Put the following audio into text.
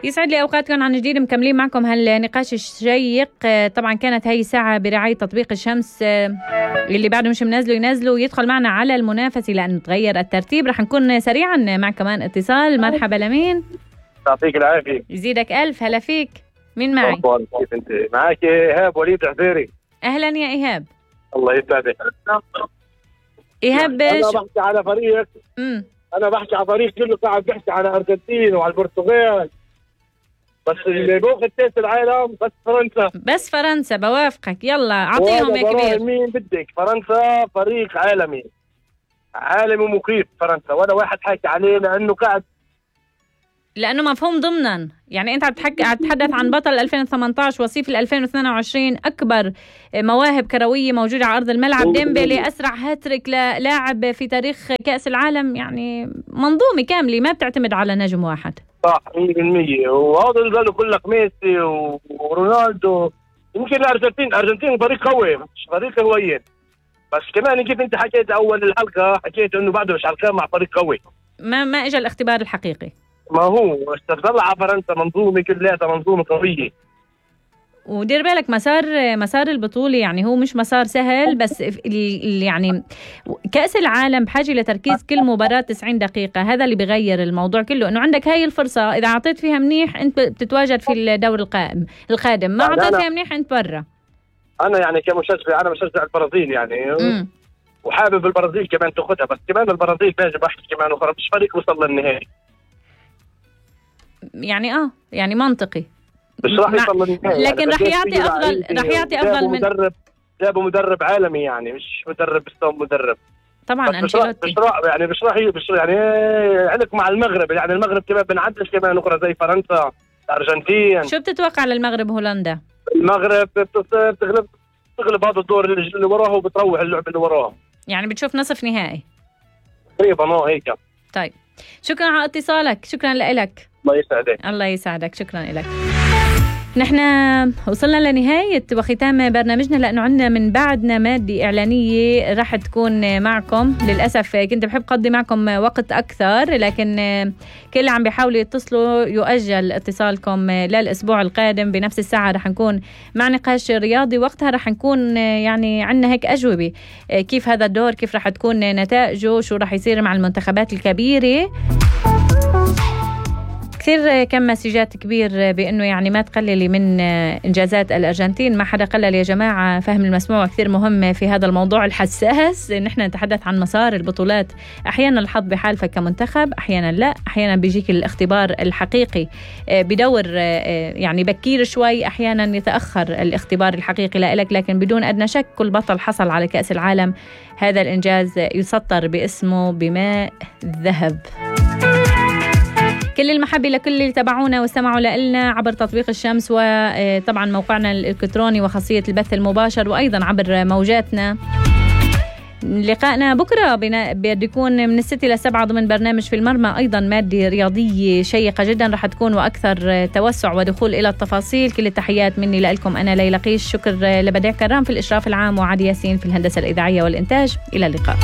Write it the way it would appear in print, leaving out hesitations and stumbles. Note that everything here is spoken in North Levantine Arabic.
يسعد لي أوقاتكم عن جديد، مكملين معكم هالنقاش الشيق. طبعا كانت هاي الساعة برعاية تطبيق الشمس، اللي بعده مش منزله ينزله ويدخل معنا على المنافسة لأنه تغير الترتيب. رح نكون سريعا مع كمان اتصال. مرحبا لمين؟ يعطيك العافية. يزيدك ألف. هلا فيك، مين معي؟ كيف انت؟ معك إيهاب وليد عفيري. أهلا يا إيهاب. الله يسعدك. إيهاب أنا بحكي على فريق أنا بحكي على فريق كله قاعد بحكي على الأرجنتين وعلى البرتغال، بس اللي بوقت كأس العالم بس فرنسا. بس فرنسا، بوافقك. يلا أعطيهم يا كبير. مين بدك؟ فرنسا فريق عالمي ومخيف فرنسا، ولا واحد حكي عليه لأنه مفهوم ضمنا. يعني أنت تتحدث عن بطل 2018 وصيف 2022، أكبر مواهب كروية موجودة على أرض الملعب. ديمبلي أسرع هاتريك لاعب في تاريخ كأس العالم، يعني منظومة كاملة ما بتعتمد على نجم واحد. صح 100%. وهذا اللي قالوا كلك ميسي ورونالدو. يمكن الأرجنتين فريق قوي مش فريق هوين، بس كمان كيف أنت حكيت أول الحلقة، حكيت إنه بعده مش حلقة مع فريق قوي. ما إجا الاختبار الحقيقي. ما هو استطلع على فرنسا منظومة كلها منظومة قوية. ودير بالك مسار البطولة يعني هو مش مسار سهل، بس يعني كأس العالم بحاجة لتركيز كل مباراة 90 دقيقة. هذا اللي بيغير الموضوع كله، إنه عندك هاي الفرصة إذا عطيت فيها منيح أنت بتتواجد في الدور القادم، ما عطيت فيها منيح أنت برا. أنا يعني كمشجع أنا بشجع البرازيل يعني وحابب البرازيل كمان تاخدها، بس كمان البرازيل باجي بحكي كمان مش فريق وصل للنهائي. يعني منطقي مش راح يوصل للنهائي، لكن رح يعطي افضل من جابوا مدرب عالمي، يعني مش مدرب بس مدرب طبعا. انشيلوتي مش يعني عندك مع المغرب، يعني المغرب كمان بنعدش كمان اخرى زي فرنسا الارجنتين. شو بتتوقع للمغرب هولندا؟ المغرب بتغلب هذا الدور اللي وراها وبتروح اللعبه اللي وراها، يعني بتشوف نصف نهائي تقريبا هيك. طيب شكرا على اتصالك، شكرا لك. الله يسعدك. الله يسعدك، شكرا لك. نحن وصلنا لنهاية وختام برنامجنا، لأنه عندنا من بعدنا مادة إعلانية راح تكون معكم. للأسف كنت بحب قضي معكم وقت أكثر، لكن كل اللي عم بيحاولوا يتصلوا يؤجل اتصالكم للأسبوع القادم بنفس الساعة. راح نكون مع نقاش رياضي، وقتها راح نكون يعني عندنا هيك أجوبة كيف هذا الدور، كيف راح تكون نتائجه، شو راح يصير مع المنتخبات الكبيرة. كثير كم مسجات كبير بأنه يعني ما تقللي من إنجازات الأرجنتين. ما حدا قلل يا جماعة، فهم المسموع كثير مهم في هذا الموضوع الحساس. نحن نتحدث عن مسار البطولات، أحيانا الحظ بحالفك كمنتخب، أحيانا لا، أحيانا بيجيك الاختبار الحقيقي بدور يعني بكير شوي، أحيانا يتأخر الاختبار الحقيقي لإلك. لكن بدون أدنى شك كل بطل حصل على كأس العالم هذا الإنجاز يسطر باسمه بماء الذهب. كل المحبة لكل اللي تابعونا واستمعوا لنا عبر تطبيق الشمس، وطبعا موقعنا الإلكتروني وخاصية البث المباشر، وأيضا عبر موجاتنا. لقائنا بكرة بده يكون من 6 إلى 7 ضمن برنامج في المرمى، أيضا مادة رياضية شيقة جدا رح تكون وأكثر توسع ودخول إلى التفاصيل. كل التحيات مني لكم، أنا ليلى قيش. شكر لبديع كرام في الإشراف العام، وعادي ياسين في الهندسة الإذاعية والإنتاج. إلى اللقاء.